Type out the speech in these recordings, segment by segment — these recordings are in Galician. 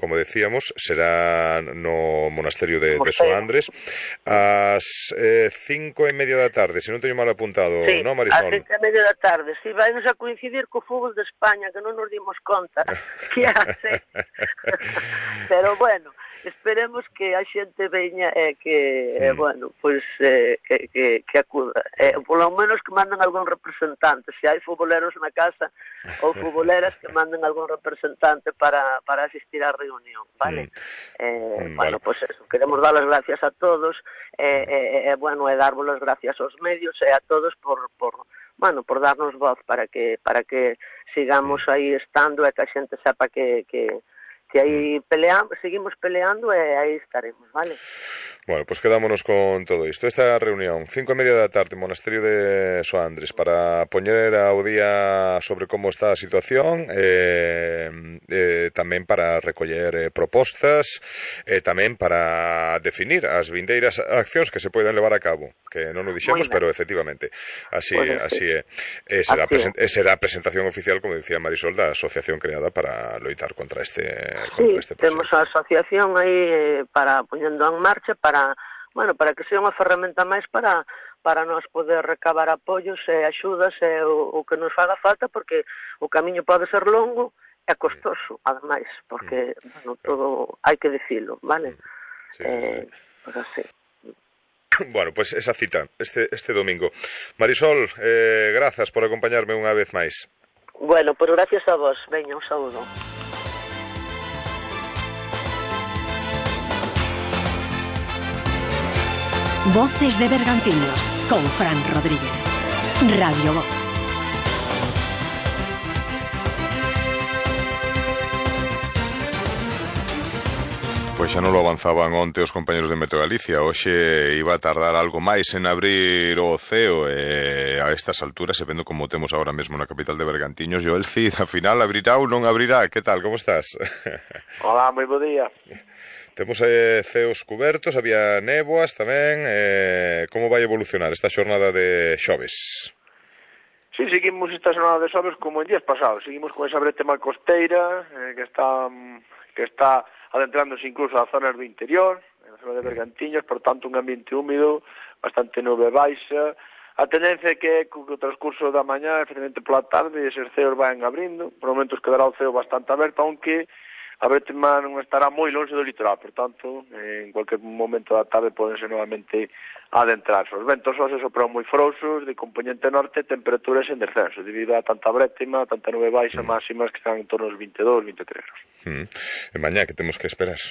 como decíamos, será no monasterio de Soandres ás 5:30 da tarde, se non teño mal apuntado, sí, non, Marisol? Ás 5:30 da tarde. Si vai nos a coincidir co fútbol de España, que non nos dimos conta que hace. Pero bueno, esperemos que a xente veña e que, bueno, pois que acuda. Polo menos que manden algún representante. Se hai futboleros na casa ou futboleras, que manden algún representante para asistir á reunión, vale? Bueno, pois eso, queremos dar as gracias a todos, bueno, e darvos as gracias aos medios e a todos por darnos voz para que sigamos aí estando e que a xente sepa que aí seguimos peleando e aí estaremos, vale? Bueno, pues quedámonos con todo isto. Esta reunión, 5:30 da tarde, Monasterio de Soandres, para poñer ao día sobre como está a situación, tamén para recoller propostas, tamén para definir as vindeiras accións que se poden levar a cabo, que non o dixemos, pero efectivamente así é. Será a presentación oficial, como dicía Marisol, da asociación creada para loitar contra este proxecto. Temos a asociación aí para poñendo en marcha para que sea unha ferramenta máis para nós poder recabar apoios e axudas e o que nos faga falta, porque o camiño pode ser longo e costoso, ademais, porque todo hai que dicilo, vale? Pues así. Bueno, pues esa cita este domingo. Marisol, grazas por acompañarme unha vez máis. Bueno, pues gracias a vos. Veña, un saúdo. Voces de Bergantiños, con Fran Rodríguez. Radio Voz. Pois xa non lo avanzaban onte os compañeros de Meteo Galicia. Hoxe iba a tardar algo máis en abrir o ceo, e a estas alturas, e vendo como temos agora mesmo na capital de Bergantiños, Joel Cid, a final abrirá ou non abrirá? Que tal, como estás? Hola, moi bo día. Temos ceos cubertos, había néboas tamén. Como vai evolucionar esta xornada de xoves? Sí, seguimos esta xornada de xoves como en días pasados. Seguimos con esa bretema costeira que está adentrándose incluso a zonas do interior, en a zona de Bergantiños, por tanto un ambiente húmido, bastante nube baixa. A tendencia é que co transcurso da mañá, efectivamente pola tarde, eses ceos van abrindo. Por momentos quedará o ceo bastante aberto, aunque a bretema non estará moi longe do litoral, por tanto, en cualquier momento da tarde podense novamente adentrarse. Os ventos hoxe sopran moi frouxos, de componente norte, temperaturas en descenso, debido a tanta bretema, tanta nube baixa, máximas que están en torno aos 22, 23 graus. E mañá, que temos que esperar?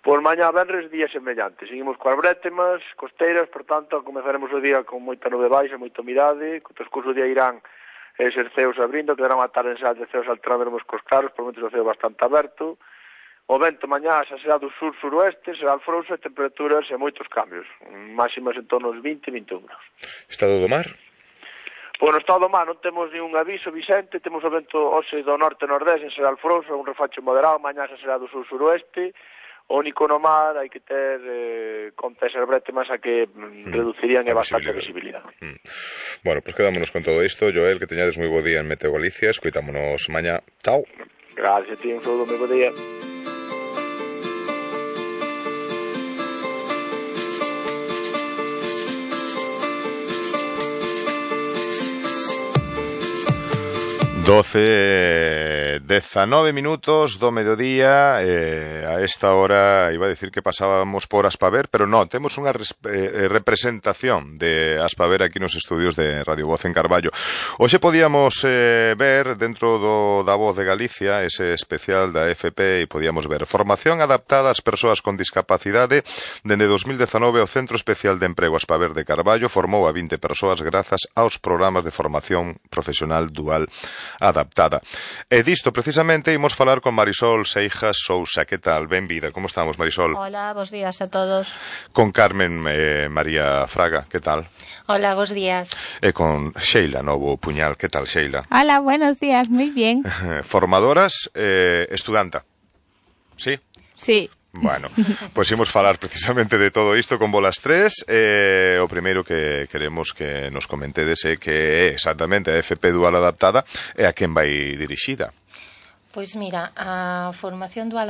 Por mañá venres, día semellante. Seguimos coas bretemas costeiras, por tanto, comezaremos o día con moita nube baixa, moita humidade, co transcurso do día irán eses ceos abrindo, quedarán a tarde en sal de ceos alternaremos cos claros, por momentos o ceo bastante aberto. O vento mañá xa será do sur-suroeste, será alfrouxo e temperaturas e moitos cambios, máximas en torno aos 20-21 graus. Estado do mar? Pois no estado do mar non temos ningún aviso, Vicente, temos o vento hoxe do norte-nordeste, será alfrouxo, un refacho moderado, mañá xa será do sur-suroeste. O único no mar hai que ter conta esas bretemas a que reducirían bastante a visibilidade. Bueno, pues quedámonos con todo isto. Joel, que teñades moi bo día en Meteo Galicia. Escoitámonos mañá. Chao. Gracias a ti, un saúdo, moi bo día. Doce, 19 minutos do mediodía. A esta hora iba a decir que pasábamos por Aspaver, pero non, temos unha representación de Aspaver aquí nos estudios de Radio Voz en Carballo. Hoxe podíamos ver dentro da Voz de Galicia ese especial da FP, e podíamos ver formación adaptada ás persoas con discapacidade. Dende 2019 o Centro Especial de Emprego Aspaver de Carballo formou a 20 persoas grazas aos programas de formación profesional dual adaptada. E disto precisamente imos falar con Marisol Seijas Sousa. Que tal? Benvida. Como estamos, Marisol? Hola, bos días a todos. Con Carmen María Fraga. Que tal? Hola, bos días. E con Sheila Novo Puñal. Que tal, Sheila? Hola, buenos días. Muy bien. Formadoras, estudanta. ¿Sí? Sí. Bueno, pois imos falar precisamente de todo isto con volas tres. O primeiro que queremos que nos comentedes é que é exactamente a FP Dual Adaptada e a quen vai dirixida. Pois mira, a formación dual